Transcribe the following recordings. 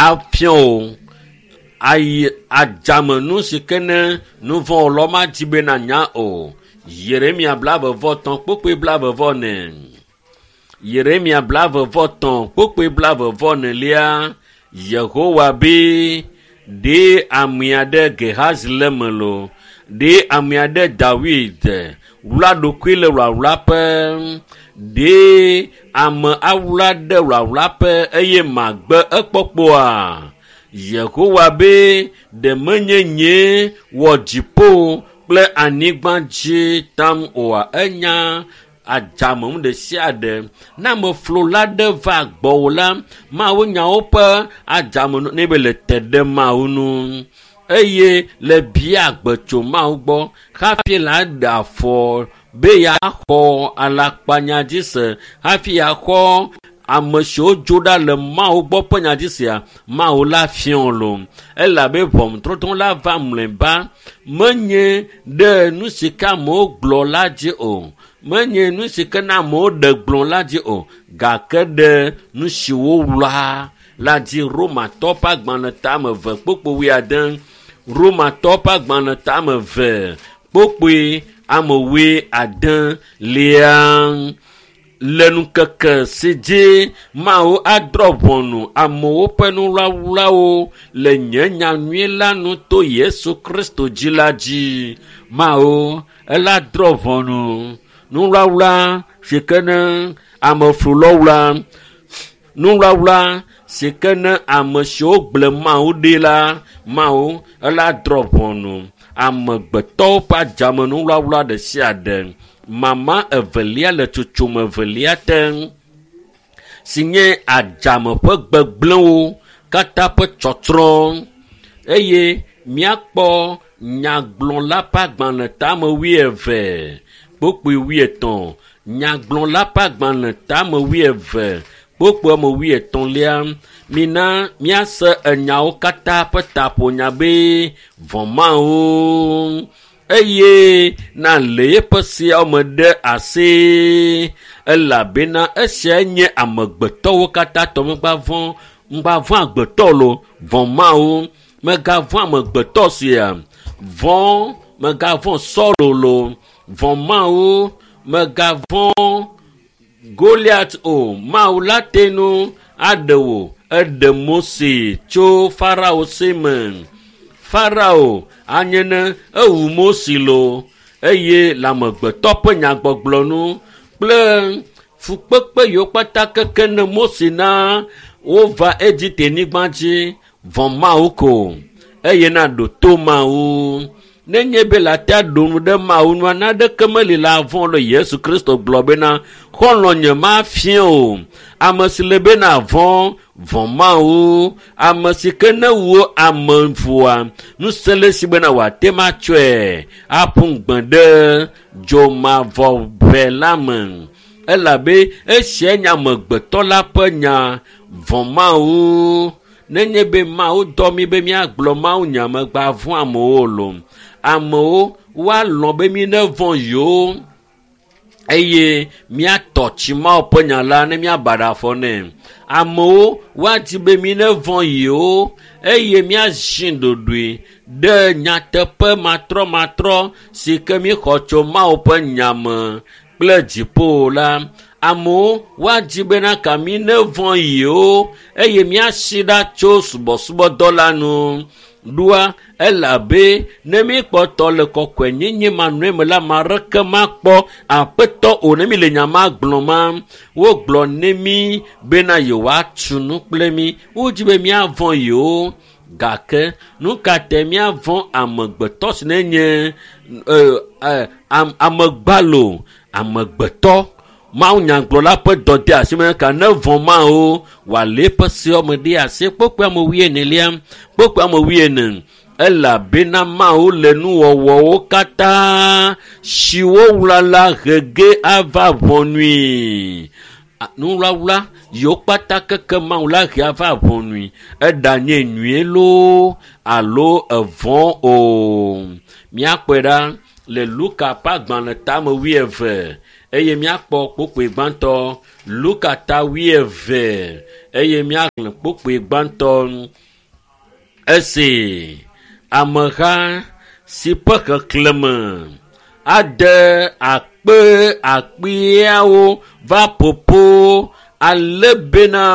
Afiɔ o ayi adzame nu si ke ne nu vɔ̃ lɔ ma dzi be na nya o. Yeremia 33 kpukpui 44. Yeremia 33 kpukpui 44. Yehowa be ɖe ame aɖe Gehazi le me lo ɖe ame aɖe Dawid wla ɖokui le wlawlaƒe ɖe ame awla ɖe wlawlaƒe eye magbe ekpɔkpɔa. Yehowa be ɖe menye nye wɔ dziƒo kple anyigba dzi tam oa enya adzame nu ɖe sia ɖe. Ne ameflola ɖe va gbɔwò la, Mawu nyawo ƒe adzame ne be le te ɖe Mawu nu eye le bia gbe tso Mawu gbɔ hafi la ɖe afɔ be yeaxɔ alakpanya dzi se hafi yeaxɔ ame siwo dzo ɖa le Mawu gbɔ ƒe nya dzi sea, Mawu la fiɔ lo. Elabe ʋɔnudɔdrɔ̃ la va mlɔeba menye ɖe nu si ke amewo gblɔ la dzi o. Menye nu si ke na amewo ɖe gblɔ la dzi o gake ɖe nu si wowla la dzi. Romatɔ ƒe agbalẽ tame 2 kpukpui 80. Romatɔ ƒe agbalẽ tame 2 kpukpui ame 80 lia. Le ŋkeke si dzi Mawu adrɔ̃ ʋɔnu amewo ƒe nuwlawlawo le nye nyanyui la nu to Yesu Kristo dzi la dzi. Mawu ela drɔ̃ ʋɔnu nuwlawla si ke ne ameflulɔwla nuwlawla si ke ne ame siwo gblẽ Mawu ɖi la Mawu ela drɔ̃ ʋɔnu amegbetɔwo ƒe adzame nuwlawla ɖe sia ɖe. Mama evelia le tsotsome evelia te si nye adzame ƒe gbegblẽwo katã ƒe tsɔtsrɔ̃ eye míakpɔ nyagblɔla ƒe agbalẽ tame 20 kpukpui 80. Nyagblɔla ƒe agbalẽ tame 20 kpukpui ame 80. Mina míase enyawo katã ƒe taƒonya be vɔ̃ Mawu eye na le eƒe seawo me ɖe asi elabena esia nye amegbetɔwo katã tɔ. Ŋgba vɔ̃ agbetɔ lo, vɔ̃ Mawu. Megavɔ̃ amegbetɔ sia, vɔ̃ megavɔ̃ Sɔlo lo, vɔ̃ Mawu. Megavɔ̃ Goliat o. Mawu la te nu aɖe wò. Eɖe Mose tso Farao si me. Farao anye ne ewu Mose lo eye le amegbetɔ ƒe nyagbɔgblɔ nu kple fukpekpe yiwo kpata keke ne Mose na wova Egipte nyigba dzi. Vɔ̃ Mawu ko eye na ɖo to Mawu. Nenye be le ate aɖo nu ɖe Mawu nua, naneke meli le avɔ̃ le Yesu Kristo gblɔ bena xɔlɔ̃ nye mafia o. Ame si le bena vɔ̃, vɔ̃ Mawu. Ame si ke ne wu ame vɔa, ŋusẽ le esi bena wòate ŋu atsɔe aƒu gbe ɖe dzomavɔʋe la me. Elabe esia nye amegbetɔ la ƒe nya. Vɔ̃ Mawu. Nenye be Mawu dɔ mí be míagblɔ Mawu nya megba vɔ̃ amewo lo. Amewo woalɔ̃ be mí ne vɔ̃ yewo eye míatɔ tsi Mawu ƒe nya la ne míaba ɖe afɔ nɛ. Amewo woadi be mí ne vɔ̃ yewo eye míazi ɖoɖoe ɖe nyateƒe matrɔmatrɔ si ke míxɔ tso Mawu ƒe nya me kple dziƒo la. Amewo woadi bena ka mí ne vɔ̃ yewo eye míasi ɖa tso subɔsubɔdɔ la nu. Ɖoa elabe ne míkpɔtɔ le kɔkɔenyenye manɔe me la, ame aɖeke makpɔ aƒetɔ o. Ne mi le nya ma gblɔm ma, wogblɔ ne mí bena yewoatu nu kple mí. Wodzi be míavɔ̃ yewo gake nu ka te míavɔ̃ amegbetɔ si ne nye amegbalo amegbetɔ? Mawu nyagblɔla ƒe dɔdeasi me ka ne vɔ̃ Mawu wòalé eƒe seawo me ɖe asi. Kpukpui ame 40 kpukpui ame 40. Elabena Mawu le nuwɔwɔwo katã siwo wla la he ge ava ʋɔnui. Nuwlawla yiwo kpata keke Mawu la he ava ʋɔnui. Eɖanye nyuie loo alo evɔ̃ o. Míakpɔe ɖa le Luka ƒe agbalẽ tame 20 eye míakpɔ kpokpoe gbãtɔ. Luka ta wuieve eye míaxlẽ kpokpoe gbãtɔ. Esi ameha si ƒe xexlẽme ade akpe akpeawo va ƒoƒo ale bena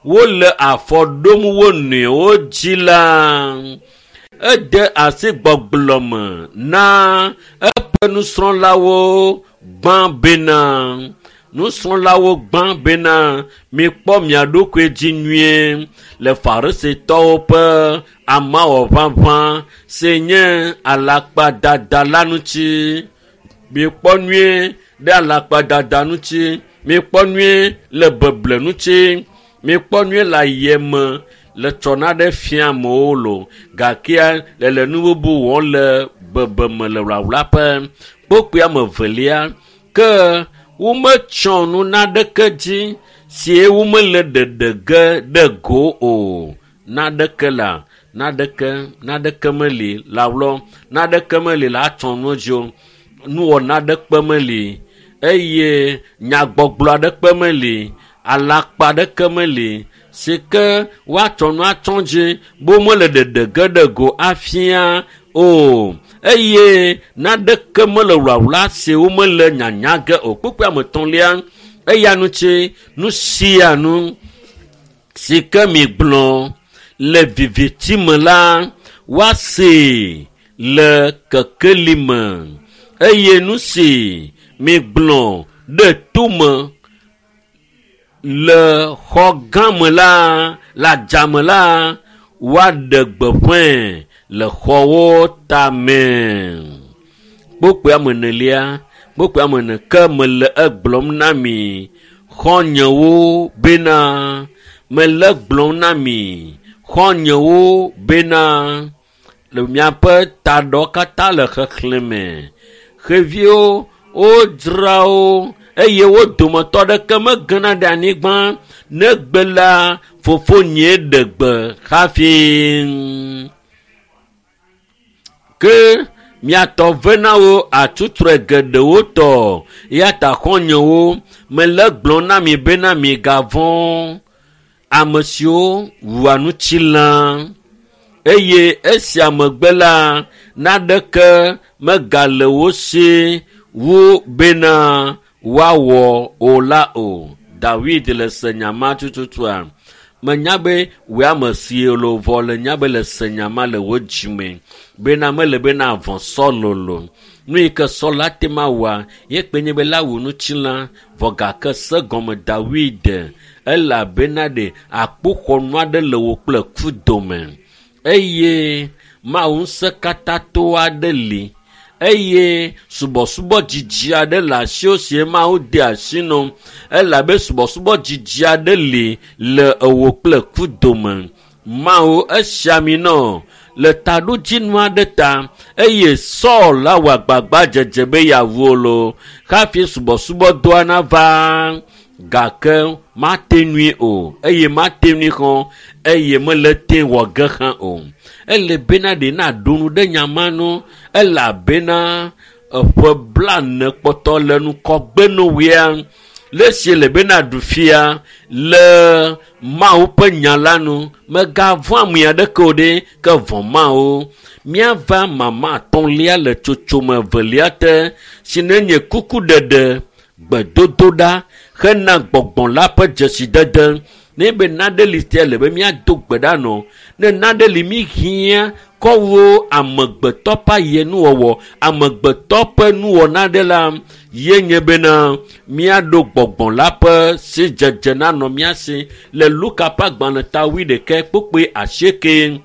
wole afɔ ɖom wo nɔewo dzi la, ede asi gbɔgblɔ me na eƒe nusrɔ̃lawo gbã bena nusrɔ̃lawo gbã bena mikpɔ mia ɖokui dzi nyuie le farisitɔwo ƒe amawɔʋaʋã si nye alakpadada la ŋuti. Mikpɔ nyuie ɖe alakpadada ŋuti, mikpɔ nyuie le beble ŋuti, mikpɔ nyuie le ayeme le tsɔna ɖe fia amewo lo gakea le le nu bubu wɔm le bebeme le wlawlaƒe. Kpokpoe ame evelia ke wometsɔ nu naɖeke dzi si womele ɖeɖe ge ɖe go o. Naɖeke la naɖeke naɖeke meli le awlɔ naɖeke meli le atsɔ nu dzi o. Nuwɔna aɖekpe meli eye nyagbɔgblɔ aɖekpe meli alakpa aɖeke meli si ke woatsɔ nu atsɔ dzi be womele ɖeɖe ge ɖe go afia o eye naɖeke mele wlawla si womele nyanya ge o. Kpukpui ame etɔ̃lia eya ŋuti nu sia nu si ke migblɔ le viviti me la woasee le kekeli me eye nu si migblɔ ɖe tome le xɔ gã me la le adzame la woaɖe gbeƒãe le xɔwo tame. Kpokpoe ame enelia kpokpoe ame ene ke mele egblɔm na mi xɔ̃nyewo bena mele egblɔm na mi xɔ̃nyewo bena le miaƒe taɖɔ katã le xexlẽme. Xeviwo wodzra wo eye wo dometɔ ɖeke megena ɖe anyigba negbe la fofonye ɖe gbe hafi. Ke miatɔ ve na wo atsutsrɔe geɖewo tɔ eya ta xɔ̃nyewo mele gblɔm na mi bena migavɔ̃ ame siwo wua ŋutilã eye esia megbe la naɖeke megale wo si wu bena woawɔ o la o. Dawid le se nya ma tututua. Menya be wòe ame si lo vɔ le nya be le se nya ma le wo dzime bena mele bena vɔ̃ sɔlolo. Nu yi ke sɔ la te ma wɔa ye kpe nye be la wu ŋutilã vɔ gake se gɔme Dawid elabena ɖe akpoxɔnu aɖe le wò kple ku dome eye Mawu ŋusẽkatãto aɖe li eye subɔsubɔ dzidzi aɖe le asiwò si Mawu de asi nɔ elabe subɔsubɔ dzidzi aɖe li le ewò kple ku dome. Mawu esia mi nɔ le taɖodzinu aɖe ta eye Saul la wɔ agbagba dzedze be yeawu wo lo hafi subɔsubɔdɔa nava gake mate ŋui o eye mate ŋui xɔ eye mele te wɔ ge hã o. Ele bena ɖe naɖo nu ɖe nya ma nu elabena eƒe blane kpɔtɔ le ŋgɔgbe nowɔea le esi le bena ɖu fia le Mawu ƒe nya la nu. Megavɔ̃ ame aɖeke o ɖe ke vɔ̃ Mawu. Míava mama atɔ̃lia le tsotsome evelia te si nenye kukuɖeɖe, gbedodoɖa hena gbɔgbɔ la ƒe dzesidede. Ne be naɖe li sia le be míado gbe ɖa nɔ. Ne naɖe li mí hiã kɔwo amegbetɔ ƒe ayenuwɔwɔ, amegbetɔ ƒe nuwɔna ɖe la ye nye bena míaɖo gbɔgbɔ la ƒe sidzedze nanɔ mía si le Luka ƒe agbalẽ ta wuiɖekɛ kpukpui asieke.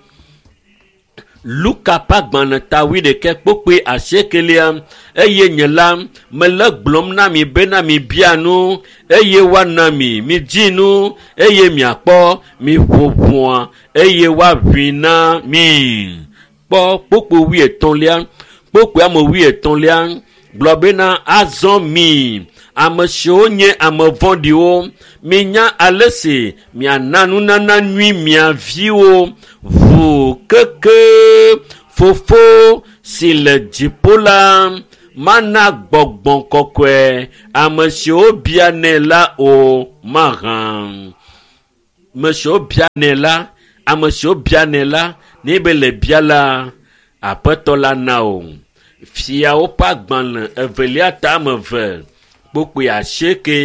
Luka ƒe agbalẽ ta wuiɖekɛ kpukpui asiekelia eye nye la mele gblɔm na mi bena mibia nu eye woana mi, midi nu eye miakpɔ, miƒo ʋɔa eye woaʋui na mi. Kpɔ kpukpui wuietɔ̃lia, kpukpui ame wuietɔ̃lia gblɔ bena azɔ mi ame siwo nye ame vɔ̃ɖiwo minya ale si miana nunana nyui mia viwo ʋu keke fofo si le dziƒo la Mana gbɔgbɔ kɔkɔe ame siwo bianɛ la o mahã. Ame siwo bianɛ la, ame siwo bianɛ la, ne be le bia la, aƒetɔ la na o. Fiawo ƒe agbalẽ evelia tame eve kpokpoe asieke.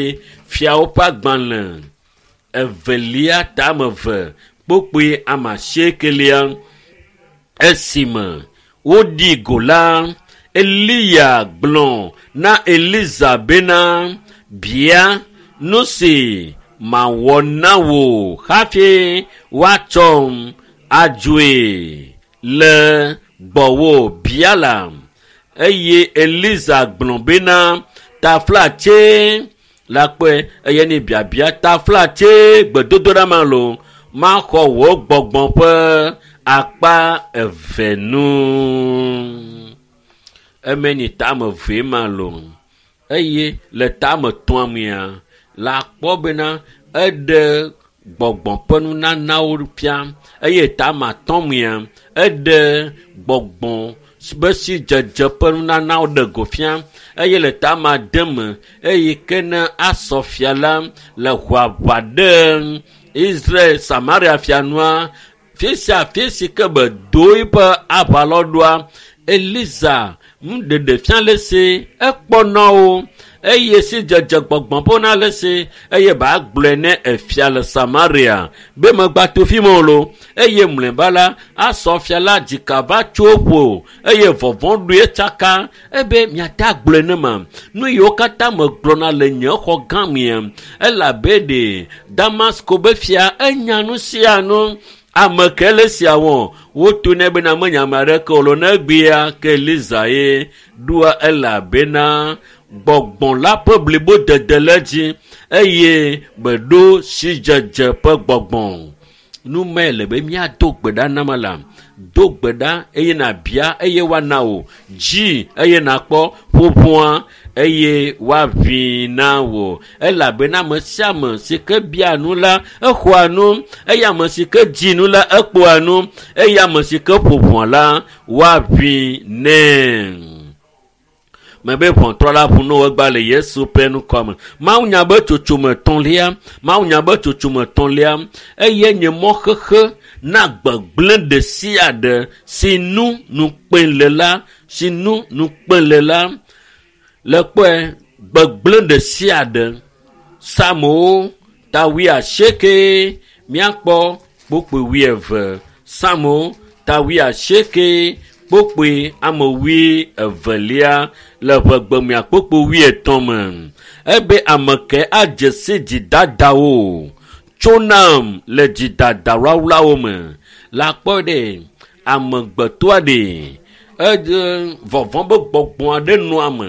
Fiawo ƒe agbalẽ evelia tame eve kpokpoe ame asiekelia. Esime woɖi go la, Eliya gblɔ na Eliza bena, bia nu si mawɔ na wò hafi woatsɔm adzoe le gbɔwò bia la. Eye Eliza gblɔ bena, taflatse la kpɔe eye ne biabia taflatse gbedodoɖa ma lo maxɔ wò gbɔgbɔ ƒe akpa eve nu. Eme nyi tame eve ma lo eye le tame tɔ̃a mea la kpɔ bena eɖe gbɔgbɔ ƒe nunanawo fia eye tame atɔ̃ mea eɖe gbɔgbɔ be si dzedze ƒe nunanawo ɖe go fia eye le tame ade me eye ke ne asɔ fia la le ʋaʋa ɖe Israel Samaria fianua fi sia fi si ke be do eƒe aʋalɔɖoa Eliza nuɖeɖe fia le si ekpɔ wo eye si dzedze gbɔgbɔ ƒe na le si eye ba gblɔe ne efia le Samaria be megba to fi me o lo eye mlɔeba la asɔ fia la dzika va tso ƒo eye vɔvɔ̃ ɖoe tsaka ebe miate agblɔe ne ma nu yiwo katã megblɔna le nye xɔ gã mea elabe ɖe Damasko be fia enya nu sia nu ame ke le sia wɔ woto nɛ bena menya ame aɖeke o lo ne egbea ke Eliza ye ɖoa elabena gbɔgbɔ la ƒe blibodede le dzi eye beɖo sidzedze ƒe gbɔgbɔ. Nu mae le be míado gbe ɖa na me la, do gbe ɖa eye nàbia eye woana wò, dzi eye nàkpɔ ƒoƒoa eye woaʋui na wò. Elabena ame sia ame si ke bia nu la, exɔa nu eye ame si ke dzi nu la, ekpɔa nu eye ame si ke ƒo ʋɔa la, woaʋui nɛ. Mebe ʋɔtrɔ la ʋu no egba le Yesu ƒe ŋkɔ me. Mawu nya be tsotsome etɔ̃lia, Mawu nya be tsotsome etɔ̃lia eye nye mɔxexe na gbegblẽ ɖe sia ɖe si nu nukpe le la, si nu nukpe le la, le kpɔe gbegblẽ ɖe sia ɖe. Psalmowo ta wuiasieke míakpɔ kpokpoe wuieve. Psalmowo ta wuiasieke kpokpoe ame wuievelia le ʋegbemea kpokpoe wuietɔ̃ me. Ebe ame ke adze si dzidadawo tso nam le dzidada wlawlawo me. La kpɔ ɖe amegbetɔa ɖe edze vɔvɔ̃ be gbɔgbɔ aɖe nɔa ame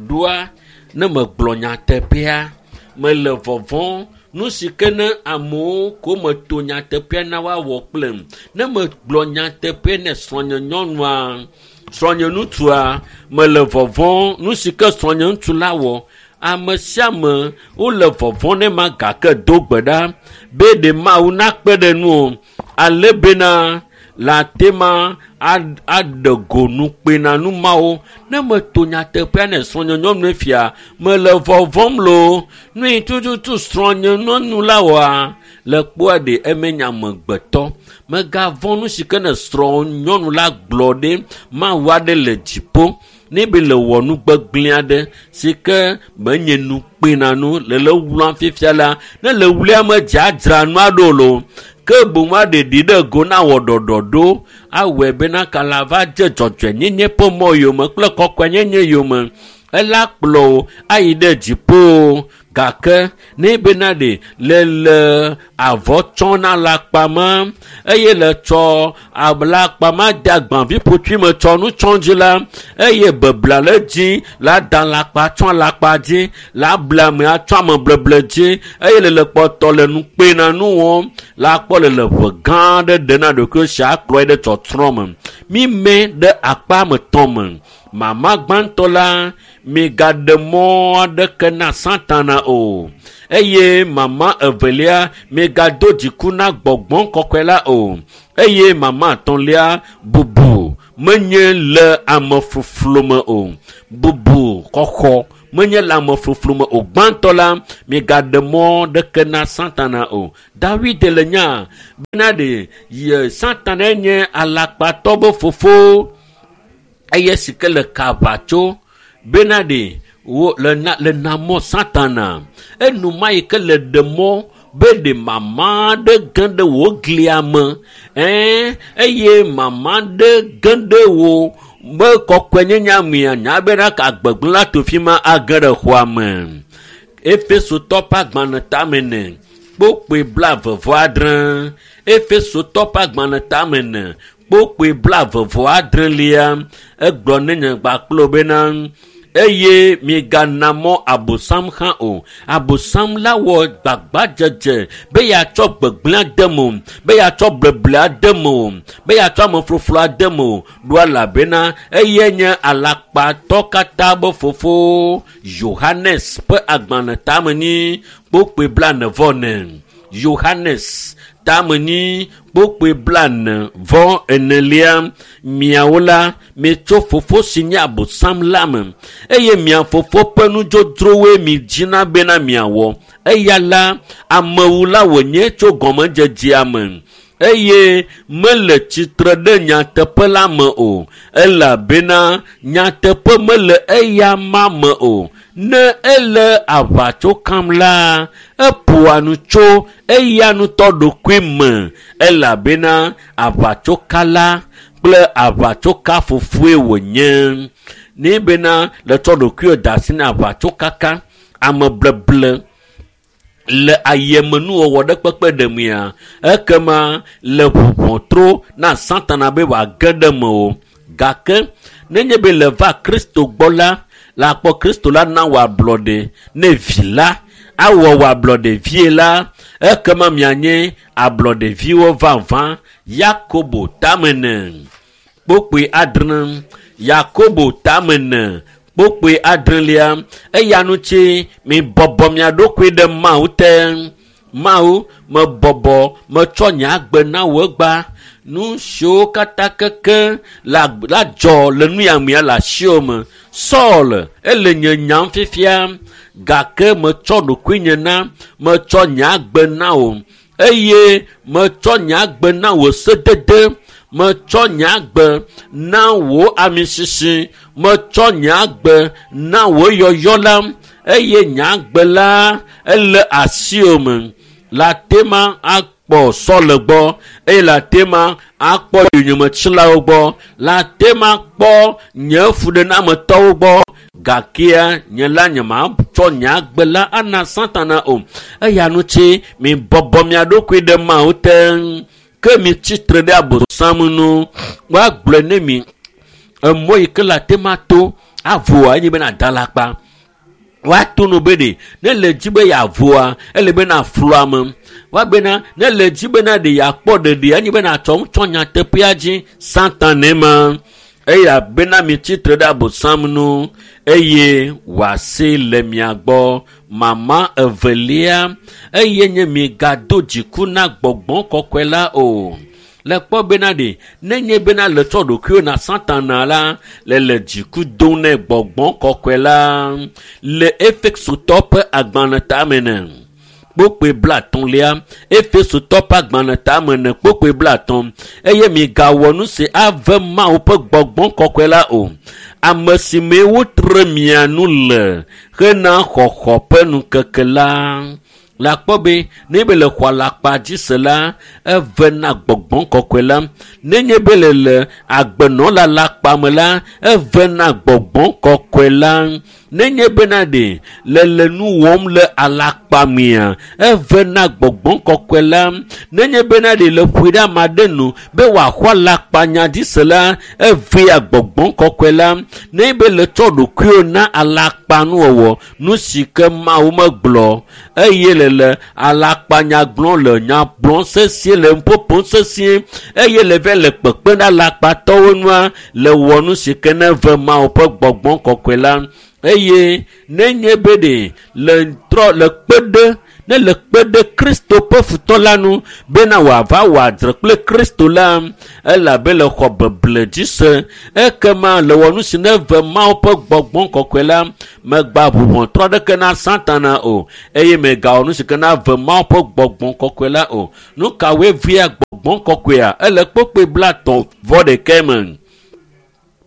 ɖoa ne megblɔ nyateƒea mele vɔvɔ̃ nu si ke ne amewo ko meto nyateƒea na woawɔ kplem. Ne megblɔ nyateƒe ne srɔ̃nye nyɔnua, srɔ̃nye ŋutsua, mele vɔvɔ̃ nu si ke srɔ̃nye ŋutsu la wɔ. Ame sia ame wole vɔvɔ̃ ne ma gake do gbe ɖa be ɖe Mawu nakpe ɖe nu o ale bena la te ma aɖe go nukpena nu mawo. Ne meto nyateƒea ne srɔ̃nye nyɔnue fia, mele vɔvɔ̃m loo. Nu yi tututu srɔ̃nye nyɔnu la wɔa, le kpɔa ɖe eme nye amegbetɔ. Megavɔ̃ nu si ke ne srɔ̃ nyɔnu la gblɔ ɖe Mawu aɖe le dziƒo. Ne be le wɔ nu gbegblẽ aɖe si ke menye nukpena nu le le wlam fifia la, ne le wlia me dzadzra nua ɖo lo, ke boŋ aɖe ɖi ɖe go na wɔ ɖɔɖɔɖo awɔe bena kala va dze dzɔdzɔenyenye ƒe mɔ yome kple kɔkɔenyenye yome. Ela kplɔ wò ayi ɖe dziƒo gake ne bena ɖe le le avɔ tsɔ na alakpa ma eye le tsɔ alakpa ma de agbaviƒotui me tsɔ nu tsɔ dzi la eye bebla le dzi la da alakpa tsɔ alakpa dzi la ble ame atsɔ ame bleble dzi eye le le kpɔtɔ le nukpena nu wɔm la kpɔ le le ʋe gã aɖe ɖe na ɖokuiwo si akplɔe ɖe tsɔtsrɔ̃ me. Mime ɖe akpa ame tɔ̃ me. Mama gbãtɔ la migaɖe mɔ aɖeke na Satana o eye mama evelia migado dziku na gbɔgbɔ kɔkɔe la o eye mama etɔ̃lia bubu Menye le amefluflu me o. Bubu xɔxɔ menye le amefluflu me o. Gbãtɔ la, migaɖe mɔ ɖeke na Satana o. David le nya bena ɖe ye Satana nye alakpatɔ be fofo eye si ke le ka aʋatso bena ɖe wo le na le na mɔ Satana. Enuma yi ke le ɖe mɔ be ɖe mama ɖe ge ɖe wò glia me eye mama ɖe ge ɖe wò be kɔkɔenyenye mea nya bena ka gbegblẽ la to fi ma age ɖe xɔa me. Efesotɔ ƒe agbalẽ tame ne kpokpoe 26. Efesotɔ ƒe agbalẽ tame ne kpokpoe 26 egblɔ ne nye gbakplo bena eye migana mɔ abosam hã o. Abosam la wɔ gbagbadzedze be yeatsɔ gbegblẽ ade me o, be yeatsɔ bleble ade me o, be yeatsɔ amefluflu ade me o. Ɖo elabena eye nye alakpatɔ katã be fofo. Yohanes ƒe agbalẽ tame nyi kpokpoe 44. Yohanes tame nyi kpokpoe 44. Miawo la, mietso fofo si nye abosam la me eye mia fofo ƒe nudzodzrowoe mi dzina bena miawɔ. Eya la, amewula wònye tso gɔmedzedzea me eye mele tsitre ɖe nyateƒe la me o, elabena nyateƒe mele eya ma me o. Ne ele aʋatso kam la, eƒoa nu tso eya ŋutɔ ɖokui me, elabena aʋatsokala kple aʋatsokafofoe wònye. Ne bena le tsɔ ɖokuiwò da asi na aʋatsokaka, amebleble le ayemenuwɔwɔ ɖe kpekpe ɖemea, ekema le ʋuʋɔtro na Satana be wòage ɖe me o. Gake nenye be le va Kristo gbɔ la, le akpɔ Kristo la na wò ablɔɖe. Ne vi la awɔ wò ablɔɖe vie la, ekema mianye ablɔɖeviwo vavã. Yakobo tame ne kpokpoe 6. Yakobo tame ne kpokpoe 6. Eya ŋuti mibɔbɔ mia ɖokui ɖe Mawu te. Mawu, mebɔbɔ metsɔ nye agbe na wò egbea. Nu siwo katã keke la dzɔ le nu ya mea le asiwò me. Saul ele nye nyam fifia, gake metsɔ ɖokuinye na, metsɔ nye agbe na wò eye metsɔ nye agbe na wò sedede, metsɔ nye agbe na wò amisisi, metsɔ nye agbe na wò yɔyɔ la eye nye agbe la ele asiwò me. La tema akpɔ Saul gbɔ eye la tema akpɔ yonyemetsilawo gbɔ, la tema kpɔ nye fuɖenametɔwo gbɔ. Gakea nye la nye matsɔ nye agbe la ana Satana o. Eya ŋuti mibɔbɔ mia ɖokui ɖe Mawu te, ke mitsitre ɖe abosam nu. Woagblɔe ne mi emɔ yi ke la tema to avoa enye bena da alakpa. Woato no be ɖe ne le dzi be yeavoa ele bena flu ame. Woabena ne le dzi bena ɖe yeakpɔ ɖeɖe enye bena tsɔ ŋutsɔ nyateƒea dzi Satana ma. Eya bena mitsitre ɖe abosam nu eye wòasi le mia gbɔ. Mama evelia eye nye migado dziku na gbɔgbɔ kɔkɔe la o. Le kpɔ bena ɖe nenye bena le tsɔ ɖokuiwò na Satana la, le le dziku dom ne gbɔgbɔ kɔkɔe la. Le Efesotɔ ƒe agbalẽ tame ne kpokpoe 30. Efesotɔ ƒe agbalẽ tame ne kpokpoe 30. Eye migawɔ nu si ave Mawu ƒe gbɔgbɔ kɔkɔe la o. Ame si mee wotre mia nu le hena xɔxɔ ƒe ŋkeke la. Le akpɔ be ne be le xɔ alakpa dzi se la, eve na gbɔgbɔ kɔkɔe la. Nenye be le le agbenɔla alakpa me la, eve na gbɔgbɔ kɔkɔe la. Nenye bena ɖe le le nu wɔm le alakpa mea, eve na gbɔgbɔ kɔkɔe la. Nenye bena ɖe le ƒoe ɖe ame aɖe nu be wòaxɔ alakpa nya dzi se la, evea gbɔgbɔ kɔkɔe la. Nenye be le tsɔ ɖokuiwò na alakpa nuwɔwɔ, nu si ke Mawu megblɔ eye le le alakpanya gblɔm le nya gblɔm sesĩe le nuƒoƒom sesĩe eye le vɛ le kpekpem ɖe alakpatɔwo nua, le wɔ nu si ke ne ve Mawu ƒe gbɔgbɔ kɔkɔe la. Eye nenye be ɖe le trɔ le kpe ɖe Ne le kpe ɖe Kristo ƒe futɔ la nu bena wòava wɔ adzre kple Kristo la, elabe le xɔ beble dzi se. Ekema le wɔ nu si neve Mawu ƒe gbɔgbɔ kɔkɔe la, megba ʋu ʋɔtrɔ aɖeke na Satana o eye megawɔ nu si ke nave Mawu ƒe gbɔgbɔ kɔkɔe la o. Nu kawoe vea gbɔgbɔ kɔkɔea? Ele kpokpoe 30 vɔ ɖekɛ me.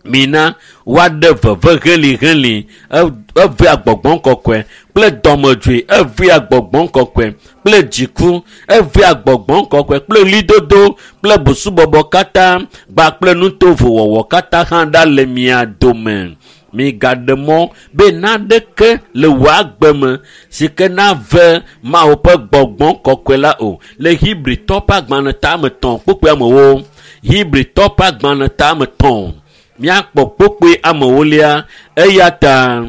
Mina woaɖe veve heliheli evea gbɔgbɔ kɔkɔe kple dɔmedzoe evea gbɔgbɔ kɔkɔe kple dziku evea gbɔgbɔ kɔkɔe kple ɣlidodo kple busubɔbɔ katã kpakple nutovowɔwɔ katã hã ɖa le mia dome. Migaɖe mɔ be naɖeke le wò agbe me si ke nave Mawu ƒe gbɔgbɔ kɔkɔe la o. Le Hebritɔ ƒe agbalẽ tame 3 kpukpui amewo. Hebritɔ ƒe agbalẽ tame 3 míakpɔ kpukpui amewolia eya ta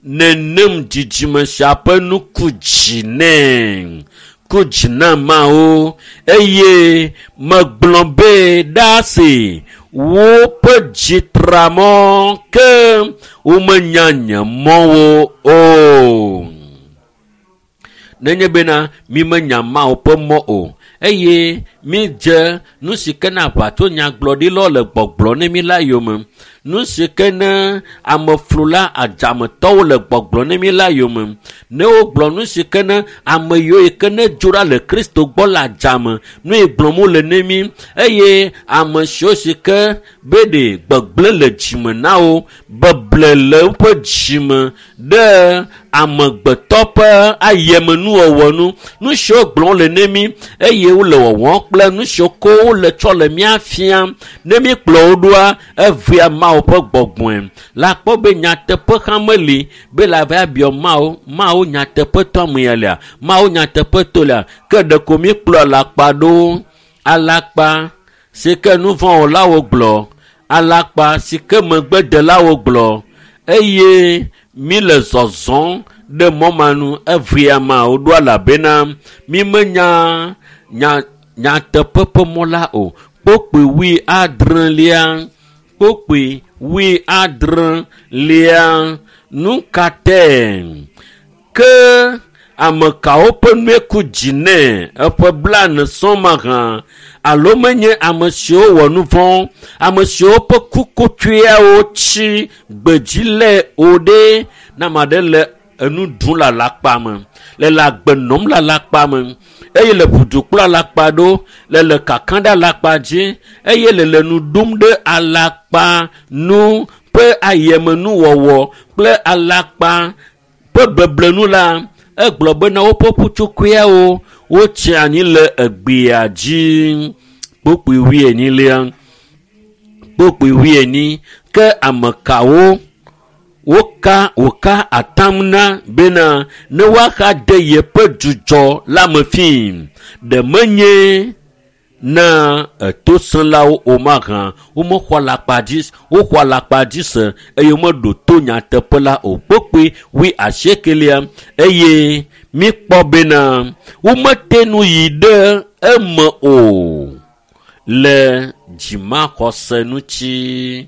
nenem dzidzime sia ƒe nu ku dzi nɛ ku dzi na Mawu eye megblɔ be ɖaasi woƒe dzi tra mɔ ke womenya nye mɔwo o. Nenye bena mi menya Mawu ƒe mɔ o eye mídze nu si ke na aʋatso nyagblɔɖilawo le gbɔgblɔ ne mí la yome, nu si ke ne ameflula adzametɔwo le gbɔgblɔ ne mí la yome, ne wogblɔ nu si ke ne ame yiwo yi ke ne dzo ɖa le Kristo gbɔ le adzame nu yi gblɔm wole ne mí eye ame siwo si ke be ɖe gbegblẽ le dzime na wo, beble le woƒe dzime ɖe amegbetɔ ƒe ayemenuwɔwɔ nu, nu siwo gblɔm wole ne mí eye wole wɔwɔm kple nu siwo ko wole tsɔ le mía fiam ne míkplɔ wo ɖoa evea Mawu ƒe gbɔgbɔe. Le akpɔ be nyateƒe hã meli be le ava biɔ Mawu, Mawu nyateƒetɔ amea lea, Mawu nyateƒetɔ lea, ke ɖeko míkplɔ alakpa ɖo. Alakpa si ke nuvɔ̃wɔlawo gblɔ, alakpa si ke megbedelawo gblɔ eye míle zɔzɔm ɖe mɔ ma nu evea Mawu ɖo elabena mímenya nya nyateƒe ƒe mɔ la o. Kpokpui 70, kpokpui 70, nu ka tae ke ame kawo ƒe nue ku dzi nɛ eƒe 40 sɔŋ mahã alo menye ame siwo wɔ nu vɔ̃, ame siwo ƒe kukutsuiawo tsi gbedzi le o ɖe ne ame aɖe le enu ɖum le alakpa me, le agbe nɔm le alakpa me eye le ʋudu kple alakpa ɖo, le kakam ɖe alakpa dzi eye le nu ɖum ɖe alakpa nu ƒe ayemenuwɔwɔ kple alakpa ƒe beblenu la, egblɔ bena woƒe ƒutsotsoeawo wotsi anyi le egbea dzi. Kpokpui 40, kpokpui 40 ke ame kawo woka wòka atam na bena ne woaxa de yeƒe dzudzɔ la me fii ɖe menye na etosẽlawo o mahã womexɔ alakpa dzi woxɔ alakpa dzi se eye womeɖo to nyateƒe la o. Kpokpui 80 eye míkpɔ bena womete nu yi ɖe eme o le dzimaxɔse ŋuti.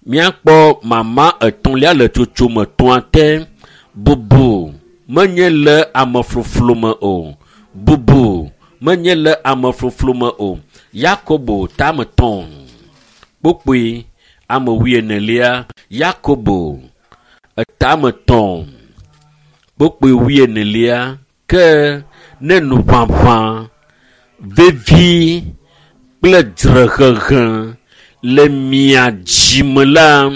Míakpɔ mama etɔ̃lia le tsotsome etɔ̃a te. Bubu menye le amefloflo me o. Bubu menye le amefloflo me o. Yakobo tame 3 kpokpui ame 40. Yakobo etame 3 kpokpui 40 ke ne nuʋaʋã vevi kple dzrehehe le mia dzime la,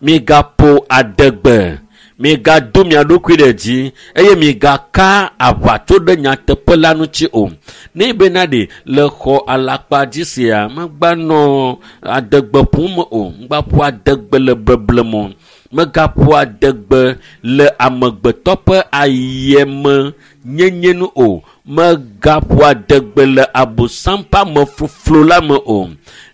migaƒo adegbe, migado mia ɖokui ɖe dzi eye migaka aʋatso ɖe nyateƒe la ŋuti o. Ne bena ɖe le xɔ alakpa dzi sia, megbanɔ adegbe ƒom o, megbaƒo adegbe le beble me o, megaƒo adegbe le amegbetɔ ƒe ayeme nyenye nu o, megaƒo adegbe le abosam ƒe amefloflo la me o,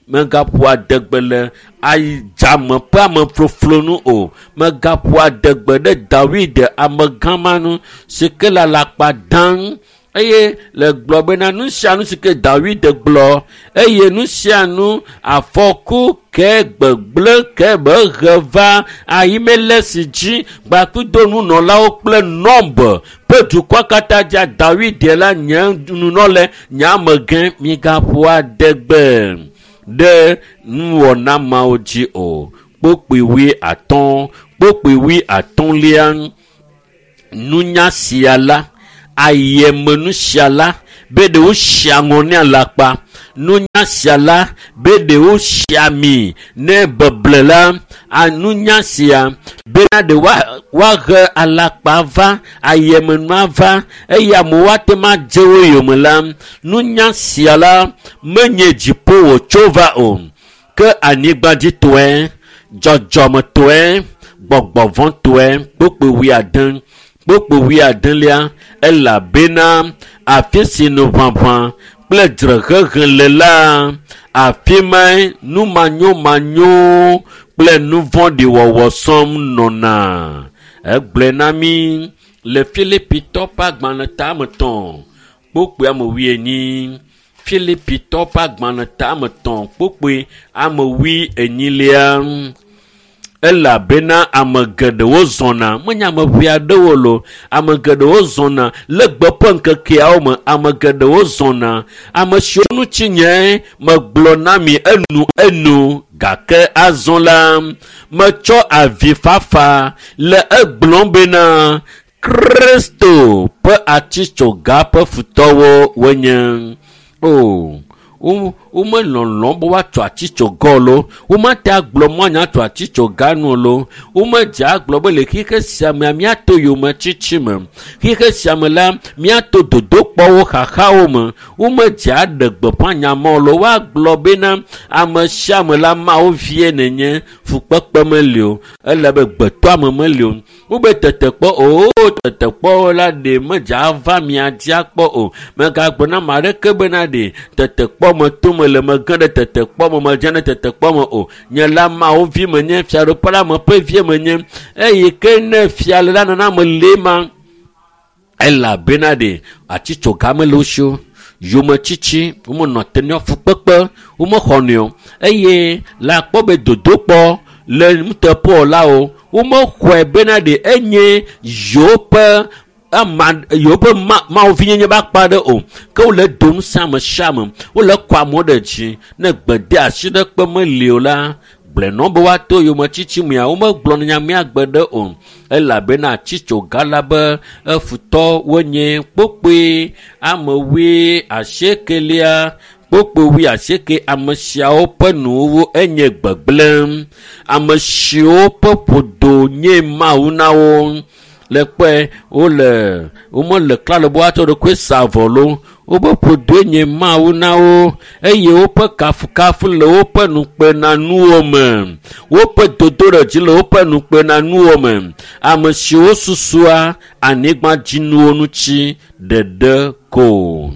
megaƒo adegbe le adzame ƒe amefloflo nu o, megaƒo adegbe ɖe Dawid amegã ma nu si ke le alakpa dam Eye le gblɔ bena nu sia nu si ke Dawid gblɔ eye nu sia nu afɔku ke gbegblẽ ke be he va Ahimelesi dzi gbakudo nunɔlawo kple Nɔb ƒe dukɔa katã dzia Dawid la nye nunɔle nye amegã migaƒo adegbe ɖe nuwɔna mawo dzi o. Kpokpui 50, kpokpui 50lia, nunya sia la, ayemenu sia la, be ɖewo si aŋɔ ne alakpa. Nunya sia la, be ɖewo si ami ne beble la. Nunya sia bena ɖe woahe alakpa va, ayemenua va, eye amewo ate ŋu adze wo yome la. Nunya sia la menye dziƒo wòtso va o, ke anyigbadzitɔe, dzɔdzɔmetɔe, gbɔgbɔvɔ̃tɔe. Kpokpui 80, kpokpui 80lia, elabena afi si nuʋaʋã kple dzrehehe le la, afi mae numanyomanyo kple nuvɔ̃ɖiwɔwɔ sɔm nɔna. Egblɔe na mí le Filipitɔ ƒe agbalẽ tame 3, kpokpui ame 40. Filipitɔ ƒe agbalẽ tame 3, kpokpui ame 40lia. Elabena ame geɖewo zɔna, menye ame ʋɛ aɖewo lo, ame geɖewo zɔna le gbe ƒe ŋkekeawo me, ame geɖewo zɔna. Ame siwo ŋuti nye megblɔ na mi enu enu, gake azɔ la, metsɔ avifafa le egblɔm bena Kristo ƒe atitsoga ƒe futɔwo wonye. O, womelɔlɔ̃ be woatso atitsoga lo, womate agblɔ mɔ anya tso atitsoga nu lo, womedze agblɔ be le xixe sia mea míato yometsitsi me, xixe sia me la míato dodokpɔwo xaxawo me, womedze aɖe gbeƒã nya ma lo, woagblɔ bena ame sia ame la Mawu vie nenye, fukpekpe meli o, ele be gbetɔame meli o. Wobe tetekpɔ o, tetekpɔ la ɖe medze ava mia dzi akpɔ o. Megagblɔ na ame aɖeke bena ɖe tetekpɔ me to me le mege ɖe tetekpɔ me, medze ɖe tetekpɔ me o. Nye la Mawu vi menye, fiaɖuƒe la me ƒe vie menye. Eye ke ne fia le la nana me le ma, elabena ɖe atitsoga mele wo si o. Yometsitsi, womenɔ te ne fukpekpe, womexɔnɛ o. Eye le akpɔ be dodokpɔ le nuteƒewɔlawo, womexɔe bena ɖe enye yewoƒe ama yewoƒe Mawu vinyenye be akpa ɖe o. Ke wole dom ŋusẽ ame sia ame, wole kɔ amewo ɖe dzi. Ne gbede asi ɖe kpe meli o la, gblɔe nɔ be woato yometsitsi mea, womegblɔ nya mea gbe ɖe o. Elabena atitsoga la be efutɔ wonye. Kpokpui ame 80lia, kpokpui 80, ame siawo ƒe nuwuwu enye gbegblẽ. Ame siwo ƒe ƒodo nye Mawu na wo. Le kpɔe wole womele klalo be woatsɔ ɖokui sa avɔ lo. Wobe ƒodoe nye Mawu na wo eye woƒe kafukafu le woƒe nukpenanuwo me. Woƒe dodoɖedzi le woƒe nukpenanuwo me. Ame siwo susua anyigbadzinuwo ŋuti ɖeɖe ko.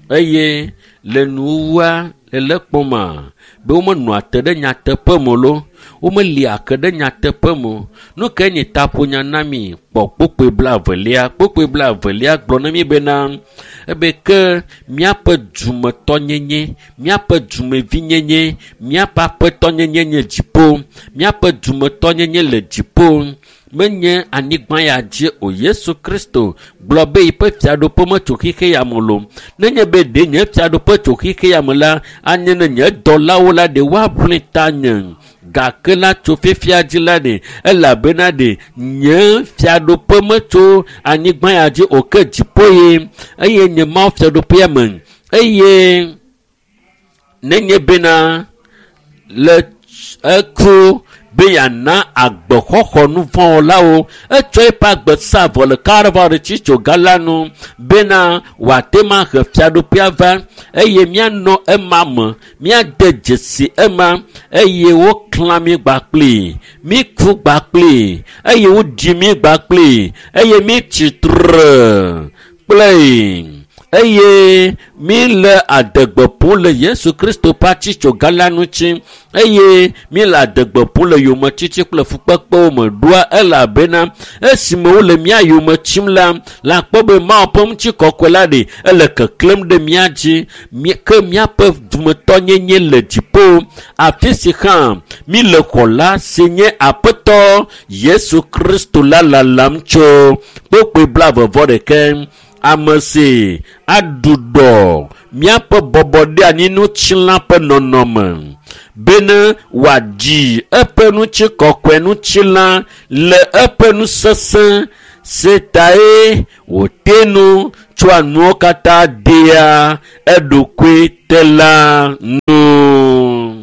Eye le nuwuwua le le kpɔma be womenɔa te ɖe nyateƒe me lo, womelia ke ɖe nyateƒe me o. Nu ke nye taƒonya na mi kpɔ kpokpui 20lia. Kpokpui 20lia gblɔ na mi bena ebe ke míaƒe dumetɔnyenye, míaƒe dumevinyenye, míaƒe aƒetɔnyenye nye dziƒo, míaƒe dumetɔnyenye le dziƒo, menye anyigba ya dzi o. Yesu Kristo gblɔ be yiƒe fiaɖuƒe metso xixe ya me lo. Nenye be ɖe nye fiaɖuƒe tso xixe ya me la, anye ne nye dɔlawo la ɖe woaʋli tanye. Gake la tso fifia dzi la ɖe, elabena ɖe nye fiaɖuƒe metso anyigba ya dzi o, ke dziƒo ye, eye nye Mawu fiaɖuƒea me. Eye nenye bena le eku be yeana agbexɔxɔ nuvɔ̃wɔlawo, etsɔ eƒe agbe sa avɔ le Kalvari tsitsoga la nu bena wòate ŋu ahe fiaɖuƒea va eye míanɔ ema me, míade dzesi ema eye woklã mí gbakpli, míku gbakpli eye woɖi mí gbakpli eye mítsi tre kple. Eye mi le adegbe ƒom le Yesu Kristo ƒe atitsoga la ŋuti eye mi le adegbe ƒom le yometiti kple fukpekpewo me ɖoa elabena esime wole mía yome tsim la, la kpɔ be Mawu ƒe ŋutikɔkɔe la ɖe ele keklẽm ɖe mía dzi ke míaƒe dumetɔnyenye le dziƒo afi si hã mi le xɔla si nye Aƒetɔ Yesu Kristo la lalam tso kpokpoe 21. Ame si aɖuɖɔ míaƒe bɔbɔɖeanyinutsila ƒe nɔnɔme bene wòadzi eƒe ŋutikɔkɔe ŋutilã le eƒe nusesẽ si tae wòte nu tsoa nuwo katã dea eɖokui te la nu.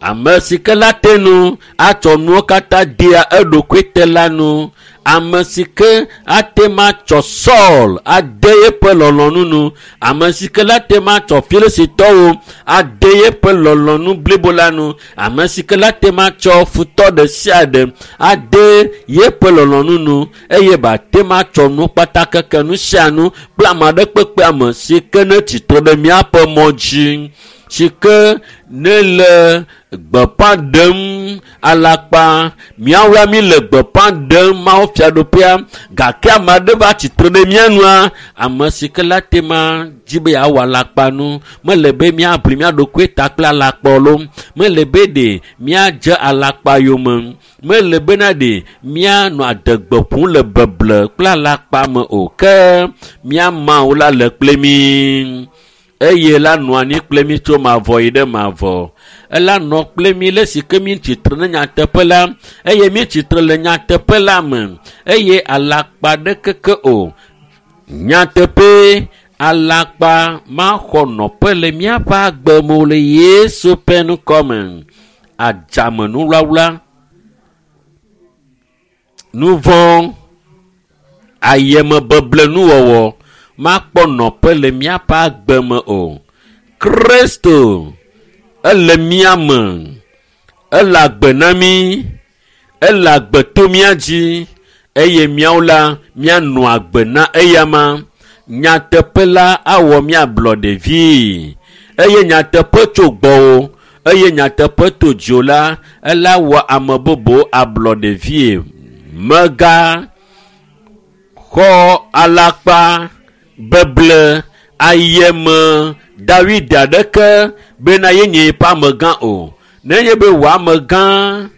Ame si ke la te nu atsɔ nuwo katã dea eɖokui te la nu. Ame si ke ate ma tsɔ Saul ade yeƒe lɔlɔ̃nu nu. Ame si ke la te ma tsɔ Filistitɔwo ade yeƒe lɔlɔ̃nu blibo la nu. Ame si ke la te ma tsɔ futɔ ɖe sia ɖe ade yeƒe lɔlɔ̃nu nu eye bate ma tsɔ nu kpata keke nu sia nu kple ame aɖe kpekpe ame si ke ne tsitre ɖe míaƒe mɔ dzi si ke ne le gbeƒã ɖem alakpa míawoa mi le gbeƒã ɖem Mawu fiaɖuƒea gake ame aɖe va tsitre ɖe mía nua ame si ke la te ma dzi be yeawɔ alakpa nu mele be míaʋli mía ɖokui ta kple alakpa lo mele be ɖe míadze alakpa yome mele bena ɖe míanɔ adegbe ƒom le beble kple alakpa me o ke mía Mawu la le kple mí. Eye la nɔ anyi kple mí tso mavɔ yi ɖe mavɔ. Ela nɔ kple mí le si ke mí tsitre ne nyateƒe la eye mí tsitre le nyateƒe la me eye alakpa ɖekeke o. Nyateƒe alakpa maxɔ nɔƒe le míaƒe agbe me o le Yesu ƒe ŋkɔme. Adzamenuwlawla, nuvɔ̃, ayemebeblenuwɔwɔ makpɔ nɔƒe le míaƒe agbe me o. Kristo ele mía me, ele agbe na mí, ele agbe to mía dzi eye míawo la míanɔ agbe na eyama. Nyateƒe la awɔ mía ablɔɖevi eye nyateƒe tso gbɔwò eye nyateƒe to dziwò la ela wɔ ame bubu ablɔɖevie. Mega xɔ alakpa beble ayeme Dawid aɖeke bena yenye yeƒe amegã o. Nenye be wò amegã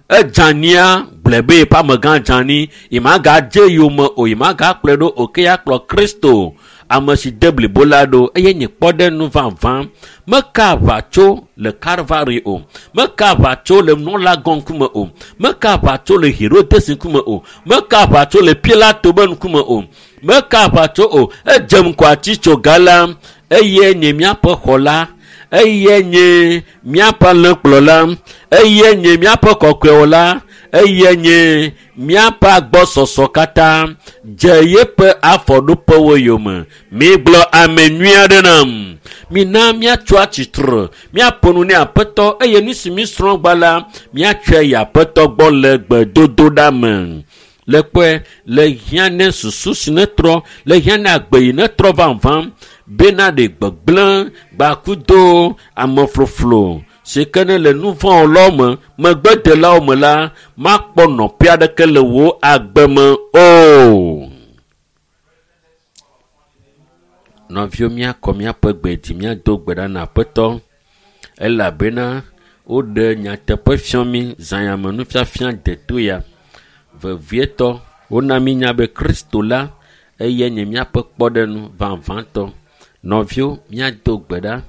edzania gblɔe be yeƒe amegã dzani yemagadze yome o yemagakplɔe ɖo o ke yeakplɔ Kristo ame si de blibo la ɖo eye nye kpɔɖeŋu vavã. Meka aʋa tso le Kalvari o, meka aʋa tso le nunɔlagã ŋkume o, meka aʋa tso le Herodes ŋkume o, meka aʋa tso le Pilato be ŋkume o, meka aʋa tso o. Edze ŋgɔ atitsoga la eye nye míaƒe xɔla, eye nye míaƒe alẽkplɔla, eye nye míaƒe kɔkɔewɔla, eye nye míaƒe agbɔsɔsɔ katã dze yeƒe afɔɖoƒewo yome. Migblɔ ame nyui aɖe nam. Mina míatso atsitre, míaƒo nu ne Aƒetɔ eye nu si mísrɔ̃ gba la, míatsɔe yi Aƒetɔ gbɔ le gbedodoɖa me. Le kpɔe le hiã ne susu si netrɔ, le hiã ne agbe yi netrɔ vavã bena ɖe gbegblẽ gbakudo amefloflo si ke ne le nu vɔ̃ lɔ me megbedelawo me la makpɔ nɔƒe aɖeke le wò agbe me o. Nɔviwo míakɔ míaƒe gbe dzi míado gbe ɖa na Aƒetɔ elabena woɖe nyateƒe fiɔ mí zãyame nufiafia deto ya. Vevietɔ wona mí nya be Kristo la eye nye míaƒe kpɔɖeŋu vavãtɔ. Nɔviwo míado gbe ɖa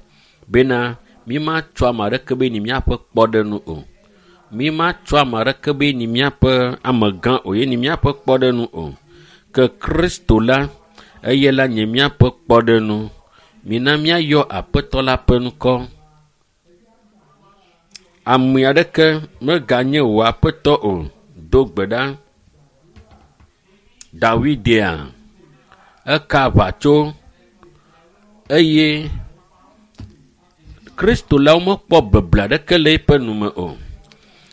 bena mímatsɔ ame aɖeke be nyi míaƒe kpɔɖeŋu o. Mímatsɔ ame aɖeke be nyi míaƒe amegã o ye nyi míaƒe kpɔɖeŋu o. Ke Kristo la eye la nye míaƒe kpɔɖeŋu. Mina míayɔ Aƒetɔ la ƒe ŋkɔ. Ame aɖeke meganye wò Aƒetɔ o. Do gbe ɖa. Dawidea eka aʋa tso eye Kristo la womekpɔ beble aɖeke le eƒe nume o.